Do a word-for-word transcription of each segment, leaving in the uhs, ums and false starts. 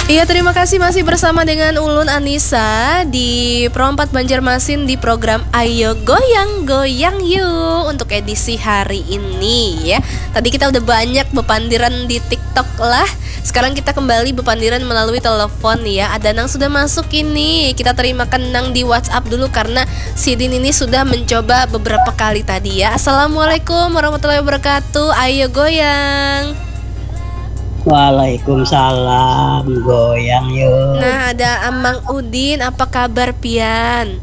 Iya, terima kasih masih bersama dengan Ulun Anissa di Pro empat Banjarmasin di program Ayo Goyang Goyang Yuk untuk edisi hari ini ya. Tadi kita udah banyak bepandiran di TikTok lah. Sekarang kita kembali bepandiran melalui telepon ya. Ada nang sudah masuk ini. Kita terima kenang di WhatsApp dulu karena Sidin ini sudah mencoba beberapa kali tadi ya. Assalamualaikum warahmatullahi wabarakatuh. Ayo goyang. Waalaikumsalam, goyang yuk. Nah, ada Amang Udin, apa kabar pian?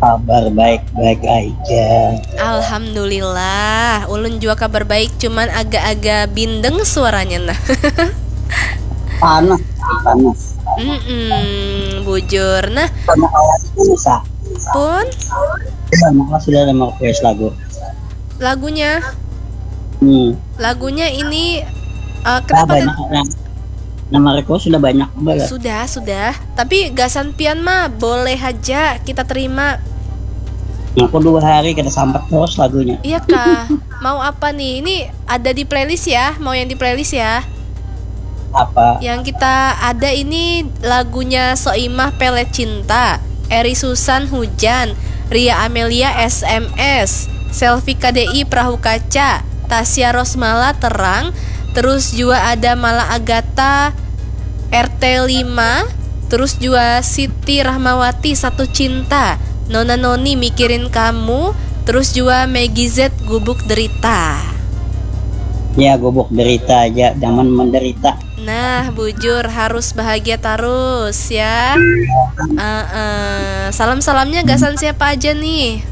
Kabar baik-baik aja. Alhamdulillah, ulun juga kabar baik, cuman agak-agak bindeng suaranya nah. Panas, panas. Mm-mm, bujur nah. Sama awalnya bisa. Pun? Iya, maka sudah ada mau request lagu. Lagunya? Hmm. Lagunya ini uh, kenapa? Nah, banyak, nah, nama request sudah banyak, Mbak, ya? Sudah, sudah. Tapi gasan pian mah boleh aja kita terima. Aku dua hari kita sampat terus lagunya. Iya kah? Mau apa nih? Ini ada di playlist ya? Mau yang di playlist ya? Apa? Yang kita ada ini lagunya Soimah Pelet Cinta, Eri Susan Hujan, Ria Amelia S M S, Selfie K D I Perahu Kaca, Tasya Rosmala Terang, terus juga ada Mala Agata R T lima, terus juga Siti Rahmawati Satu Cinta, Nona Noni Mikirin Kamu, terus juga Maggie Z Gubuk Derita. Ya, gubuk derita aja, jangan menderita. Nah, bujur harus bahagia terus ya. Uh, uh. Salam-salamnya gasan siapa aja nih?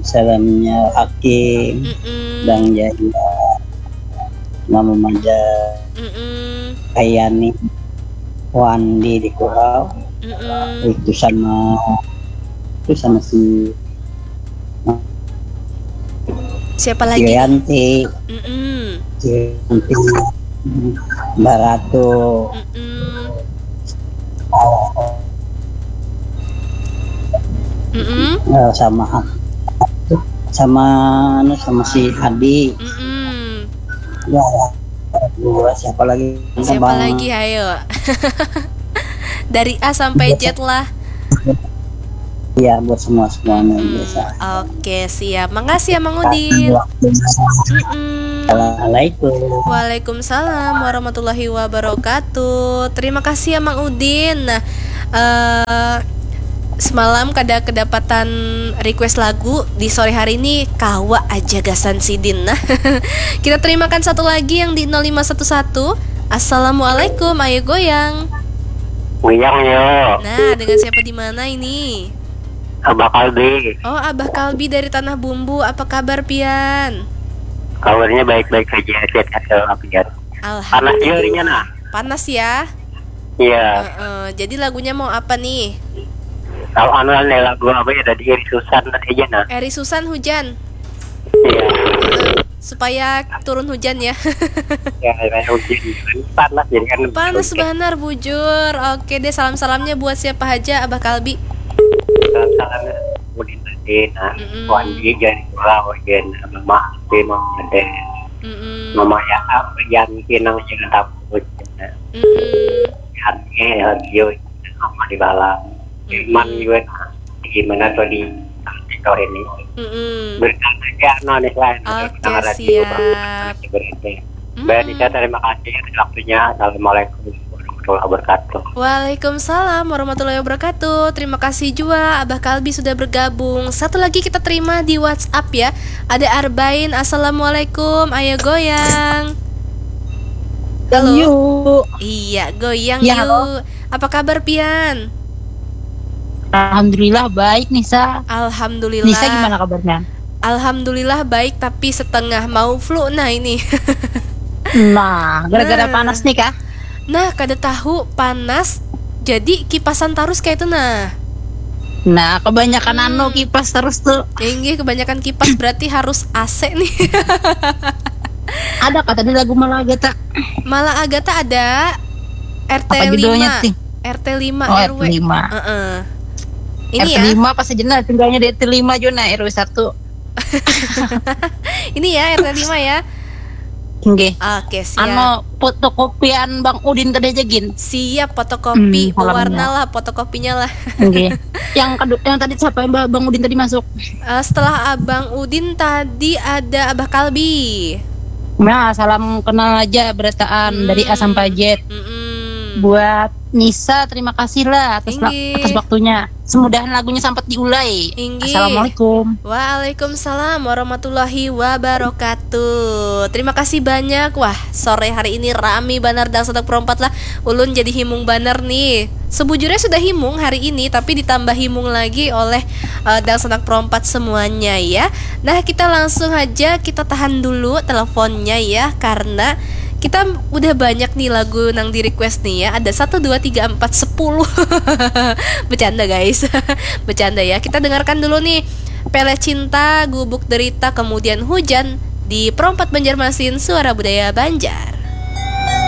Salamnya Hakim, mm -mm. Bang Jaya, Mama Maja, mm -mm. Ayani, Wandi di Kurau, mm -mm. Itu sama itu sama si siapa lagi? Yanti. Mm -mm. Yanti. Baratu. Mm -mm. Mm -mm. Sama sama anu sama si Hadi. Mm -mm. Ya, dua siapa lagi? Siapa bang? Lagi ayo? Dari A sampai Z lah. Iya, buat semua semuanya hmm, biasa. Oke, siap. Makasih ya Mang Udin. Assalamualaikum. Waalaikumsalam warahmatullahi wabarakatuh. Terima kasih ya Mang Udin. Nah, uh, semalam kada kedapatan request lagu di sore hari ini kawa aja gasan sidin nah. Kita terimakan satu lagi yang di nol lima satu satu. Assalamualaikum, ayo goyang. Goyang yo. Nah, dengan siapa di mana ini? Abah Kalbi. Oh, Abah Kalbi dari Tanah Bumbu. Apa kabar pian? Kabarnya baik-baik saja, sehat-sehat selalu pian. Alhamdulillah. Panas ya harinya nah. Panas ya? Iya. Uh, uh, jadi lagunya mau apa nih? Kalau anu nih lagu apa ya tadi Eri Susan tadi aja nah. Eri Susan hujan. Iya. Uh, supaya turun hujan ya. Ya, kayak hujan. Panas jadi kan. Panas benar bujur. Oke deh, salam-salamnya buat siapa aja Abah Kalbi. Salam-salamnya Udin tadi nah. Mm -mm. Wandi jadi pulau hujan. Mama, Mama, Mama, Mama ya, yang pinang jangan takut. Aneh lagi yo, sama di balam. Iman juga gimana tuh di sektor ini. Berkata aja no nih lain. Oke, siap. Mbak Nisa, terima kasih atas waktunya. Assalamualaikum warahmatullahi wabarakatuh. Waalaikumsalam warahmatullahi wabarakatuh. Terima kasih juga Abah Kalbi sudah bergabung. Satu lagi kita terima di WhatsApp ya. Ada Arbain. Assalamualaikum. Ayo goyang. Halo. Iya, goyang ya, yuk. Halo. Apa kabar pian? Alhamdulillah baik Nisa. Alhamdulillah. Nisa gimana kabarnya? Alhamdulillah baik tapi setengah mau flu nah ini. Nah, gara-gara nah. Panas nih kah? Nah, kada tahu panas jadi kipasan terus kayak itu nah. Nah, kebanyakan hmm. anu kipas terus tuh. Inggih, kebanyakan kipas berarti harus A C nih. Ada kata di lagu Malagata. Malagata ada. R T lima. R T lima oh, R W. R T lima. Uh -uh. Ini R T lima ya? Pas aja nah, tinggalnya di R T lima juga nah, R W satu. Ini ya R T lima ya. Nggih. Oke, siap. Anu, fotokopian Bang Udin tadi aja gin. Siap, fotokopi. Hmm, salamnya. Warna lah, fotokopinya lah. Nggih. Yang kedua, yang tadi siapa, Mbak, Bang Udin tadi masuk? Eh, setelah Abang Udin tadi ada Abah Kalbi. Nah, salam kenal aja berataan Hmm. dari A sampai Z. Mm-mm. Buat Nisa, terima kasih lah atas, Inggih. atas waktunya. Semudahan lagunya sampat diulai. Inggih. Assalamualaikum. Waalaikumsalam warahmatullahi wabarakatuh. Terima kasih banyak. Wah, sore hari ini rami banar Dangsanak Perompat lah. Ulun jadi himung banar nih. Sebujurnya sudah himung hari ini, tapi ditambah himung lagi oleh uh, Dangsanak Perompat semuanya ya. Nah, kita langsung aja, kita tahan dulu teleponnya ya, karena kita udah banyak nih lagu nang di request nih ya. Ada satu, dua, tiga, empat, sepuluh. Bercanda guys. Bercanda ya. Kita dengarkan dulu nih Pele Cinta, Gubuk Derita, kemudian Hujan di Perompat Banjarmasin, Suara Budaya Banjar.